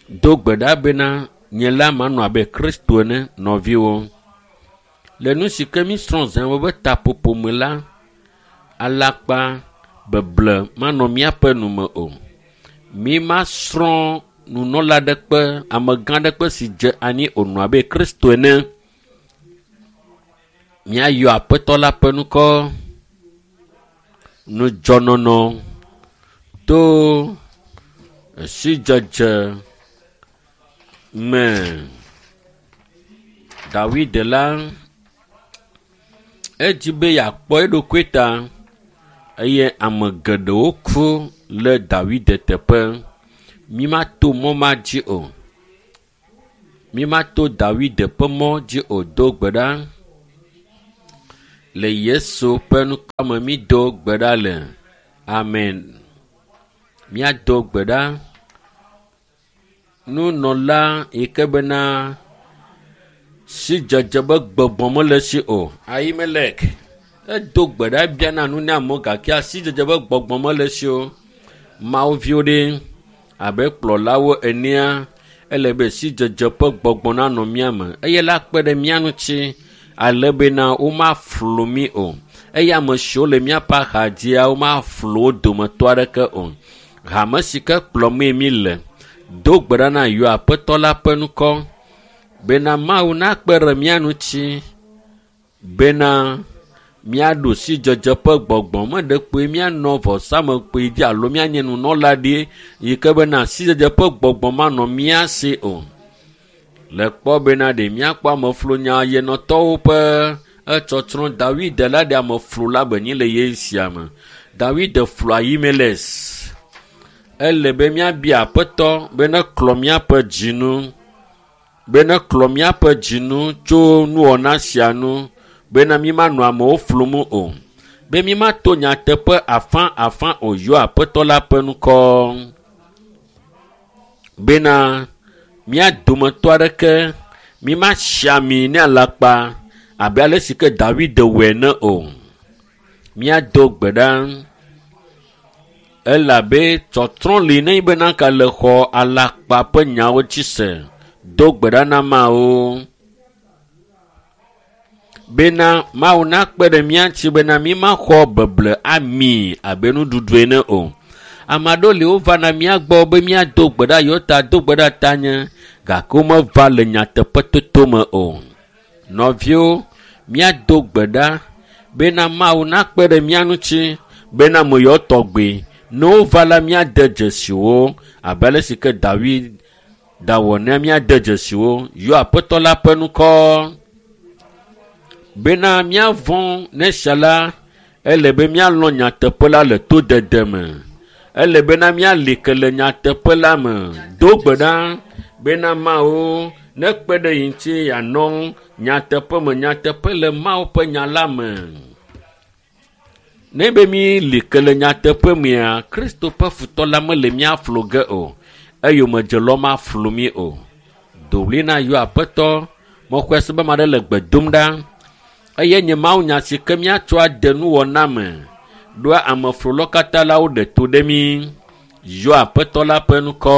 Do gbe ɖa bena nye la manɔ abe Kristo ene nɔviwo. Le nu si ke mísrɔ̃ zã be taƒoƒo me la, alakpa beble manɔ míaƒe nu me o. Mímasrɔ̃ nunɔla ɖekpe, amegã ɖekpe si dze anyi wònɔ abe Kristo ene. Míayɔ Aƒetɔ la ƒe ŋkɔ. Nudzɔnɔnɔ to sidzedze me. Dawid la, edzi be yeakpɔ eɖokui ta eye ame geɖewo ku le Dawid teƒe. Mímato mɔ ma dzi o. Mímato Dawid ƒe mɔ dzi o. Do gbe ɖa. Le Yesu ƒe ŋkɔ me mído gbe ɖa le. Amen. Míado gbe ɖa. Nunɔla yi ke bena sidzedze be gbɔgbɔ mele esi o. Ahimelek edo gbe ɖa biana nu ne amewo gake sidzedze be gbɔgbɔ mele esi o. Mawu viwo ɖe abe kplɔlawo enea ele be sidzedze ƒe gbɔgbɔ nanɔ mía me eye la kpe ɖe mía ŋuti ale bena womaflu mí o. Eye ame siwo le míaƒe axadzia womaflu wo dometɔ aɖeke o. Hame si ke kplɔmee mí le do gbe ɖa na yɔ Aƒetɔ la ƒe ŋkɔ bena Mawu nakpe ɖe mía ŋuti bena míaɖu sidzedze ƒe gbɔgbɔ me ɖe kpoe míanɔ vɔsamekpui dzi alo míanye nunɔla ɖi yi ke bena sidzedze ƒe gbɔgbɔ manɔ mía si o. Le kpɔ bena ɖe míakpɔ ameflunya yenɔtɔwo ƒe etsɔtsrɔ̃ Dawid la ɖe ameflu la be nyi le ye sia me. Dawid flu Ahimelek. Ele be míabia Aƒetɔ be neklɔ míaƒe dzinu be neklɔ míaƒe dzinu tso nuwɔna sia nu bena mímanɔ amewo flum o. Be mímato nyateƒe afã afã o yɔ Aƒetɔ la ƒe ŋkɔ. Bena mía dometɔ aɖeke mímasi ami ne alakpa abe ale si ke Dawid wɔe ene o. Míado gbe ɖa elabe tsɔtrɔ li ne bena ka le xɔ alakpa ƒe nyawo dzi se. Do gbe ɖa na Mawu bena Mawu nakpe ɖe mía ŋuti bena mímaxɔ beble ami abe nuɖuɖu ene o. Ame aɖewo li wovana mía gbɔ be míado gbe ɖa yewo ta do gbe ɖa tanye gake womeva le nyateƒetoto me o. Nɔviwo, míado gbe ɖa bena Mawu nakpe ɖe mía ŋuti bena ame yawo tɔgbi ne wova la míade dzesi wo abe ale si ke Dawid dawɔ ne míade dzesi wo yɔ Aƒetɔ la ƒe ŋkɔ. Bena míavɔ̃ ne sia la, ele be míalɔ̃ nyateƒe la le todede me. Ele bena míali ke le nyateƒe la me. Do gbe ɖa bena Mawu nekpe ɖe yi ŋuti yeanɔ nyateƒe me nyateƒe le Mawu ƒe nya la me. Ne be míli ke le nyateƒe mea, Kristo ƒe futɔ la mele mía flu ge o. Eyomedzelawo maflu mí o. Do ɣli na yɔ Aƒetɔ. Mexɔe se be ame aɖe le gbe dom ɖa. Eye nye Mawunya si ke míatsɔ ade nuwɔna me. Ɖoa ameflulawo katã la woɖe to ɖe mí. Yɔ Aƒetɔ la ƒe ŋkɔ.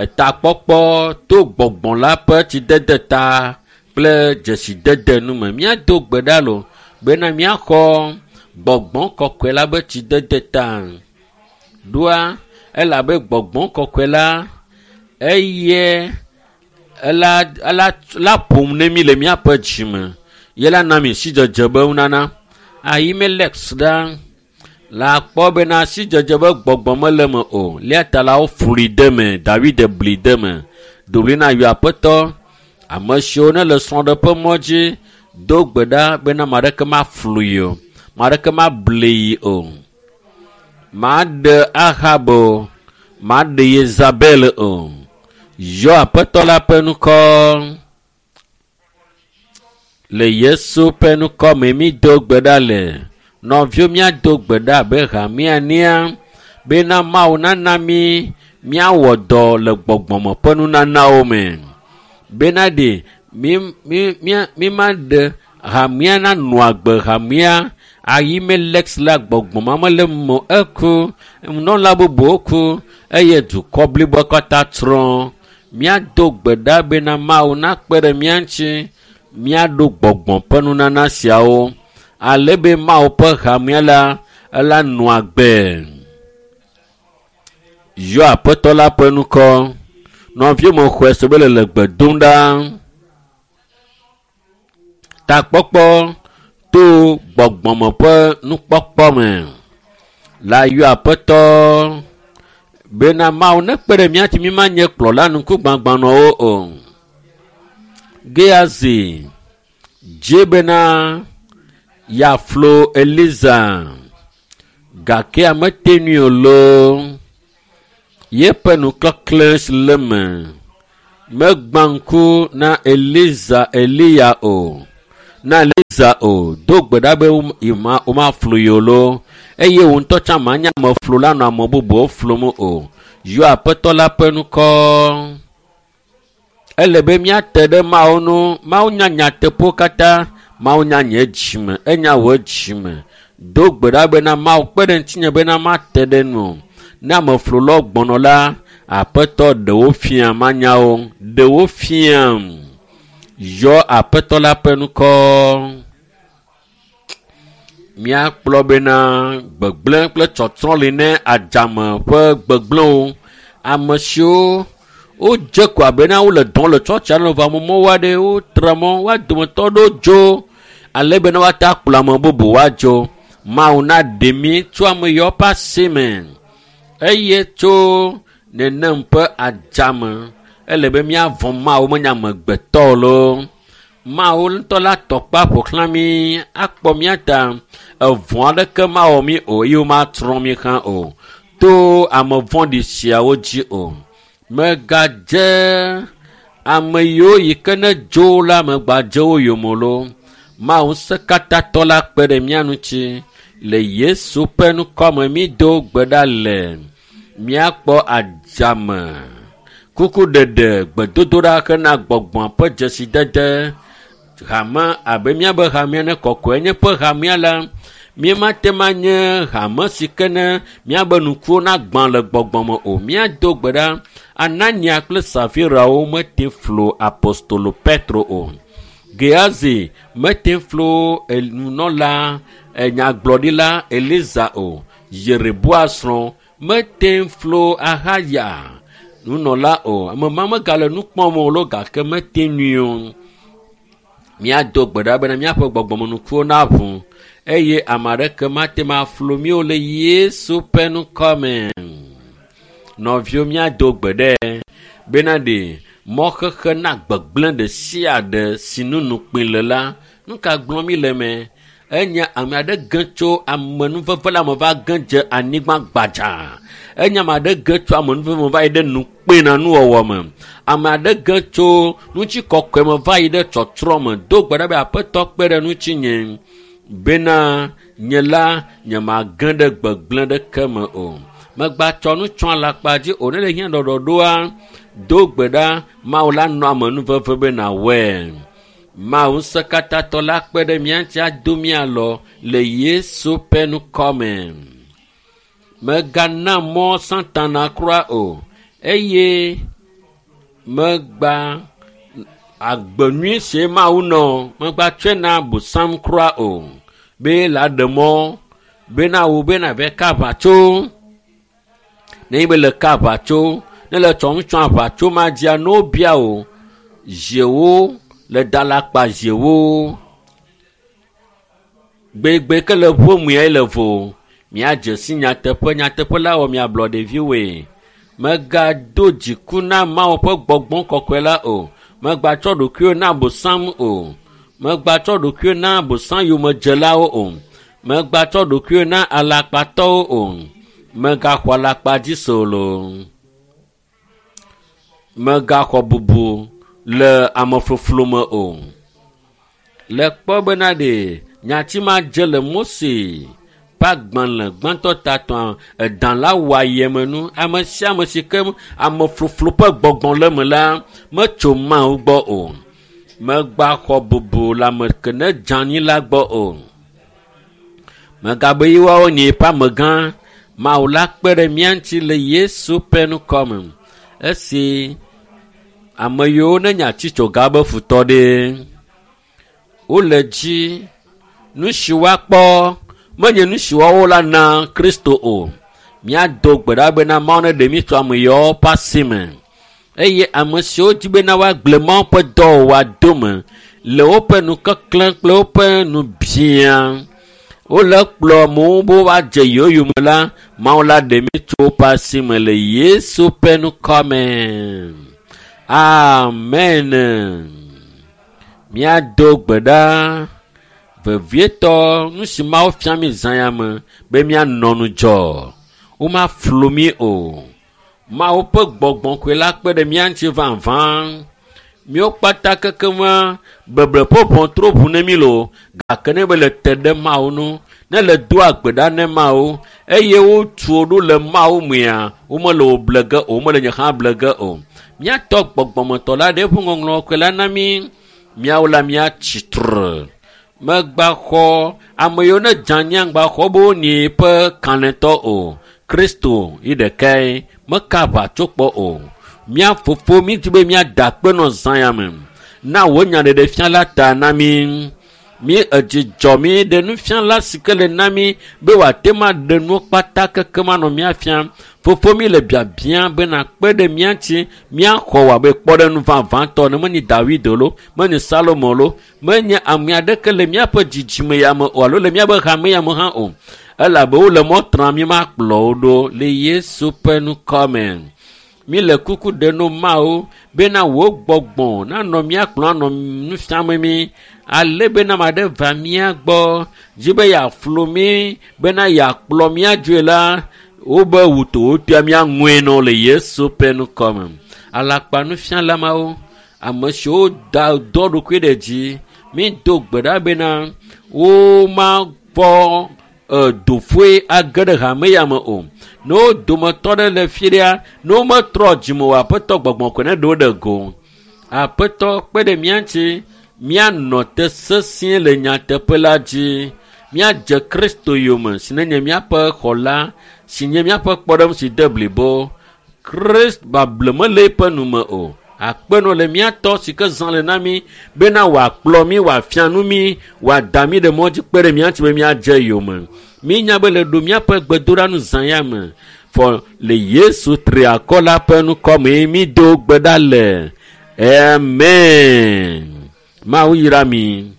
Etakpɔkpɔ to gbɔgbɔ la ƒe tsidede ta kple dzesidede nu me. Míado gbe ɖa lo bena míaxɔ gbɔgbɔ kɔkɔe la be tsidede ta. Ɖoa elabe gbɔgbɔ kɔkɔe la eye ela ela la ƒom ne mí le míaƒe dzime. Ye la na mi sidzedze be nunana. Ahimelek ɖa la kpɔ bena sidzedze be gbɔgbɔ mele eme o. Lia ta la woflui de me. Dawid bli de me. Do ɣli na yɔ Aƒetɔ. Ame siwo ne le srɔ̃ɖeƒe mɔ dzi do gbe ɖa bena ame aɖeke maflui o. Ame aɖeke mable yi o. Maɖe Ahab o. Maɖe Yezabel o. Yɔ Aƒetɔ la ƒe ŋkɔ. Le Yesu ƒe ŋkɔ me mído gbe ɖa le. Nɔviwo míado gbe ɖa abe hamea enea bena Mawu nana mí míawɔ dɔ le gbɔgbɔme ƒe nunanawo me. Bena ɖe mímaɖe hamea nanɔ agbe hamea Ahimelek la gbɔgbɔ ma mele eme o. Eku, nunɔla bubuwo ku eye dukɔ bliboa katã tsrɔ̃. Míado gbe ɖa bena Mawu nakpe ɖe mía ŋuti míaɖo gbɔgbɔ ƒe nunana siawo ale be Mawu ƒe hamea la ela nɔ agbe. Yɔ Aƒetɔ la ƒe ŋkɔ. Nɔviwo me xɔe se be le le gbe dom ɖa. Takpɔkpɔ to gbɔgbɔme ƒe nukpɔkpɔ me la yɔ Aƒetɔ bena Mawu nekpe ɖe mía ŋuti mímanye kplɔla ŋkugbãgbanɔwo o. Gehazi dze bena yeaflo Eliza gake amete nui o loo. Yeƒe nuklɔklẽ si le eme megbã ŋku na Eliza Eliya o na Eliza o. Do gbe ɖa be womaflu ye o loo eye wò ŋutɔ tsã manye ameflula la nɔ ame bubuwo flum o. Yɔ Aƒetɔ la ƒe ŋkɔ. Ele be míate ɖe Mawu ŋu. Mawu nya nyateƒewo katã. Mawu nya nye dzime. Enya wò dzime. Do gbe ɖa bena Mawu kpe ɖe ŋutinye bena mate ɖe nu. Ne ameflulawo gbɔnɔ la, Aƒetɔ ɖewo fia manyawo. Ɖewo fiam. Yɔ Aƒetɔ la ƒe ŋkɔ. Míakplɔ bena gbegblẽ kple tsɔtsrɔ̃ li ne adzame ƒe gbegblẽwo. Ame siwo wodze ko abena wole dɔm le tsɔtsia le vɔ amemɔwo aɖe wotre mɔ woa dometɔ ɖewo dzo ale bena woate akplɔ ame bubu woadzo. Mawu naɖe mí tso ame yawo ƒe asi me eye tso nenem ƒe adzame. Ele be míavɔ̃ Mawu menye amegbetɔ o loo. Mawu ŋutɔ la tɔkpa ƒo xlã mí akpɔ mía ta. Evɔ̃ aɖeke mawɔ mí o eye womatrɔ mí hã o to ame vɔ̃ɖi siawo dzi o. Megadze ame yiwo yi ke ne dzo la megbadze wo yome o loo. Mawu ŋusẽkatãtɔ la kpe ɖe mía ŋuti le Yesu ƒe ŋkɔme mído gbe ɖa le míakpɔ adzame kukuɖeɖe gbedodoɖa hena gbɔgbɔa ƒe dzesidede hame abe míabe hamea ne kɔkɔe nye ƒe hamea la míemate ma nye hame si ke ne míabe nukuwo nagbã le gbɔgbɔ me o. Míado gbe ɖa Anania kple Safirawo mete flo apostolo Petro o. Gehazi mete flo nunɔla nyagblɔɖila Eliza o. Yereboa srɔ̃ mete flo Ahaya nunɔla o. Ame ma megale nu kpɔm o lo gake mete nui o. Míado gbe ɖa bena míaƒe gbɔgbɔmenukuwo naʋu eye ame aɖeke mate ŋu aflu mí o le Yesu ƒe ŋkɔ me. Nɔviwo míado gbe ɖe bena ɖe mɔxexe na gbegblẽ ɖe sia ɖe si nu nukpui le la, nu ka gblɔm mi le eme? Enye ame aɖe ge tso amenuveve la me va ge dze anyigba gbadza. Enye ame aɖe ge tso amenuveve me va yi ɖe nukpena nuwɔwɔ me. Ame aɖe ge tso ŋutikɔkɔe me va yi ɖe tsɔtsrɔ̃ me. Do gbe ɖa be Aƒetɔ kpe ɖe ŋutinye bena nye la nyemage ɖe gbegblẽ ɖeke me o. Megbatsɔ nu tsɔ alakpa dzi o. Ne le hiã ɖɔɖɔɖoa, do gbe ɖa Mawu la nɔ amenuveve be nàwɔe. Mawu ŋusẽkatãtɔ la kpe ɖe mía ŋuti ado mía alɔ le Yesu ƒe ŋkɔ me. Mègana mɔ Satana kura o eye megba agbe nyui si Mawu nɔ megbatsɔe na Bosam kura o be la ɖe mɔ bena wò bena be ka aʋatso. Nenye be le ka aʋatso, ne le tsɔ ŋutsɔ aʋatso ma dzia, ne wobia wò ziewo le dalakpa ziewo. Gbegbe ke le ʋuomue le vo. Míadze si nyateƒe, nyateƒe la wɔ miablɔ ɖeviwoe. Mègado dziku na Mawu ƒe gbɔgbɔ kɔkɔe la o. Mègatsɔ ɖokuiwò na Bosam o. Mègatsɔ ɖokuiwò na Bosam yomedzelawo o. Mègatsɔ ɖokuiwò na alakpatɔwo o. Mègaxɔ alakpa dzi se o loo. Mègaxɔ bubu le amefloflo me o. Le kpɔ bena ɖe nyati ma dze le Mose ƒe agbalẽ gbãtɔ tatɔa edã la wɔ ayemenu. Ame sia ame si ke amefloflo ƒe gbɔgbɔ le eme la metso Mawu gbɔ o. Mègaxɔ bubu le ame ke ne dze anyi la gbɔ o. Mègabe ye woawo nye yeƒe amegã. Mawu la kpe ɖe mía ŋuti le Yesu ƒe ŋkɔ me. Esi Ame yiwo ne nye atitsoga be futɔ ɖe, wole dzi nu si woakpɔ menye nu si woawo la na Kristo o. Míado gbe ɖa bena Mawu neɖe mí tso ame yawo ƒe asi me eye ame siwo di bena woagblẽ Mawu ƒe dɔwɔwɔa dome le woƒe nukeklẽ kple woƒe nubiã wole kplɔ amewo be woadze yewo yome la, Mawu la ɖe mí tso woƒe asi me le Yesu ƒe ŋkɔ me. Amen. Míado gbe ɖa vevietɔ nu si Mawu fia mí zã ya me be míanɔ ŋudzɔ. Womaflu mí o. Mawu ƒe gbɔgbɔ koe la kpe ɖe mía ŋuti vavã. Míwo kpata kekeŋua beble ƒe ʋɔtru ʋu ne mí loo gake ne be le te ɖe Mawu ŋu, ne le doa gbe ɖa ne Mawu eye wotu wo ɖo le Mawu mea, womele wò ble ge o, womele nye hã ble ge o. Míatɔ gbɔgbɔmetɔ la ɖe eƒe ŋɔŋlɔ koe la na mí. Míawo la míatsi tre. Megbaxɔ ame yiwo ne dze anyi ŋgbaxɔ be wonyi ƒe kalẽtɔ o. Kristo yi ɖekae meka aʋa tso kpɔ o. Mía fofo mídi be míada akpe nɔ zã ya me. Na wò nyaɖeɖefia la ta na mí. Mí edzidzɔ mí ɖe nufiala si ke le na mí be wòate ŋu aɖe nuwo kpata kekem anɔ mía fiam. Fofo mí le biabia be nakpe ɖe mía ŋuti míaxɔ wò abe kpɔɖeŋu vavãtɔ ne menye David lo, menye Salomo lo, menye ame aɖeke le míaƒe dzidzime ya me o alo le míaƒe hame ya me hã o. Elabe wole mɔ tram mí makplɔ wo ɖo le Yesu ƒe ŋkɔ me. Mí le kuku ɖe no Mawu bena wò gbɔgbɔ nanɔ mía kplɔm anɔ nu fiam mí ale bena ame aɖe va mía gbɔ dzi be yeaflu mí bena yeakplɔ mía dzoe la, wobe wutowotoa míaŋue nɔ le Yesu ƒe ŋkɔ me. Alakpa nufiala mawo, ame siwo da dɔ ɖokui ɖe dzi, mído gbe ɖa bena womakpɔ dofoe age ɖe hame ya me o. Ne wo dometɔ ɖe le fi ɖea, ne wometrɔ dzime o, Aƒetɔ gbɔgbɔ koe ne ɖe wo ɖe go. Aƒetɔ kpe ɖe mía ŋuti míanɔ te sesĩe le nyateƒe la dzi. Míadze Kristo yome si nenye míaƒe xɔla, si nye míaƒe kpɔɖeŋu si de blibo. Krist bable mele eƒe nu me o. Akpe nɔ le mía tɔ si ke zã le na mí bena wòakplɔ mí, wòafia nu mí, wòada mí ɖe mɔ dzi kpe ɖe mía ŋuti be míadze yome. Mínya be le ɖo míaƒe gbedoɖa nu zã ya me. Fɔ le Yesu triakɔ la ƒe ŋkɔ mee mído gbe ɖa le. Amen. Mawu yra mi.